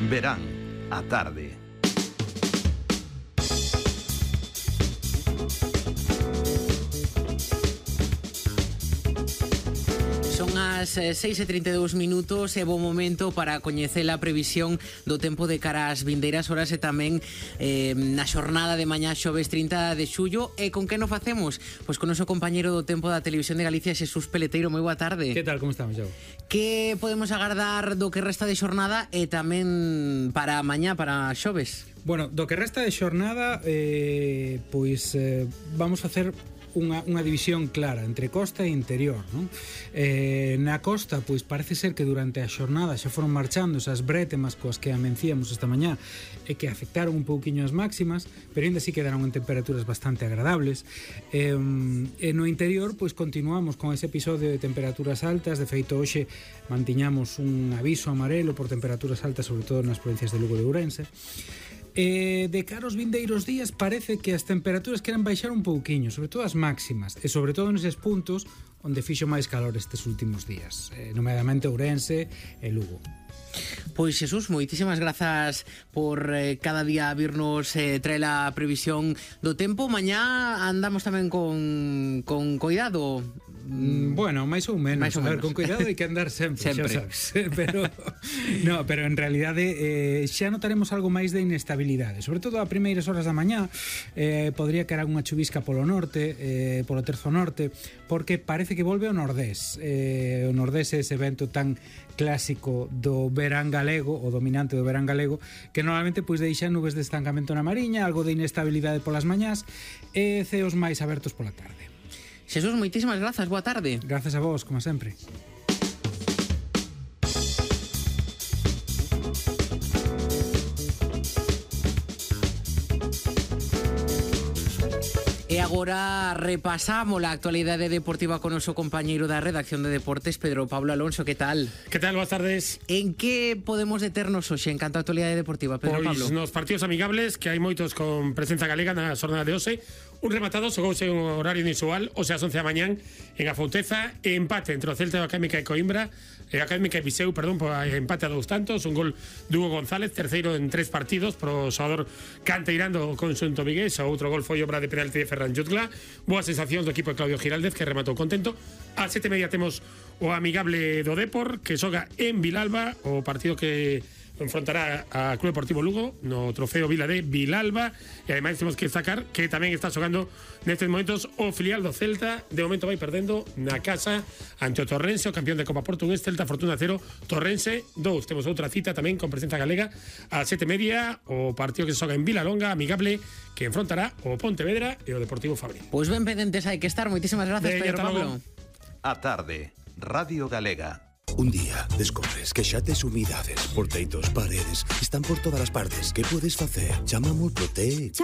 Verán a tarde. Son as 6:32 minutos e bo momento para coñecer a previsión do tempo de cara ás vindeiras horas e tamén na xornada de mañá xoves 30 de xullo. E con que nos facemos? Pois con o noso compañeiro do tempo da Televisión de Galicia, Xesús Peleteiro. Moi boa tarde. Que tal, como estamos, Joe? Que podemos agardar do que resta de xornada e tamén para mañá, para xoves? Bueno, do que resta de xornada vamos facer unha división clara entre costa e interior, non? Na costa, pois parece ser que durante a xornada xa foron marchando esas brétemas coas que amencíamos esta mañá e que afectaron un pouquiño as máximas, pero ainda así quedaron en temperaturas bastante agradables. E no interior, pois continuamos con ese episodio de temperaturas altas. De feito, hoxe mantiñamos un aviso amarelo por temperaturas altas, sobre todo nas provincias de Lugo e de Ourense. De cara aos vindeiros días parece que as temperaturas queran baixar un pouquiño, sobre todo as máximas, e sobre todo neses puntos onde fixo máis calor estes últimos días, nomeadamente Ourense e Lugo. Pois Xesús, moitísimas grazas por cada día virnos traer a previsión do tempo. Mañá andamos tamén con cuidado. Bueno, máis ou menos. A ver, con cuidado hai que andar sempre. Xa sabes. Pero en realidade xa notaremos algo máis de inestabilidade, sobre todo a primeiras horas da mañá. Podría caer unha chuvisca polo norte, polo terzo norte, porque parece que volve ao nordés. O nordés é ese vento tan clásico do verán galego, o dominante do verán galego, que normalmente pois deixa nubes de estancamento na mariña, algo de inestabilidade polas mañás e ceos máis abertos pola tarde. Xesús, moitísimas grazas, boa tarde. Grazas a vos, como sempre. E agora repasamos a actualidade deportiva con o noso compañeiro da redacción de deportes, Pedro Pablo Alonso. Que tal? Que tal? Boas tardes. En que podemos deternos hoxe en canto a actualidade deportiva, Pedro Pablo? Pois nos partidos amigables, que hai moitos con presenza galega na xornada de hoxe. Un rematado, xogouse un horario inusual, o sea, as 11 da mañán, en a Fouteza, empate entre o Celta e o Académica de Coimbra, Académica de Viseu, empate a 2 tantos, un gol de Hugo González, terceiro en 3 partidos, pro xogador canteirando o conxunto vigués. O outro gol foi obra de penalti de Ferran Jutgla. Boas sensacións do equipo de Claudio Giraldez, que rematou contento. A 7:30 temos o amigable do Depor, que xoga en Vilalba, o partido que enfrontará a Club Deportivo Lugo no trofeo Vila de Vilalba. E ademais temos que destacar que tamén está xogando nestes momentos o filial do Celta. De momento vai perdendo na casa ante o Torrense, o campeón de Copa Portugués. Celta Fortuna 0, Torrense 2. Temos outra cita tamén con presenza galega a 7:30, o partido que se xoga en Vilalonga, amigable, que enfrontará o Pontevedra e o Deportivo Fabril. Pois ben pendentes hai que estar. Moitísimas grazas, Pedro Pablo. A tarde, Radio Galega. Un día descobres que xa tes humidades, porteitos, paredes, están por todas as partes. Que podes facer? Chama a Mulprotec.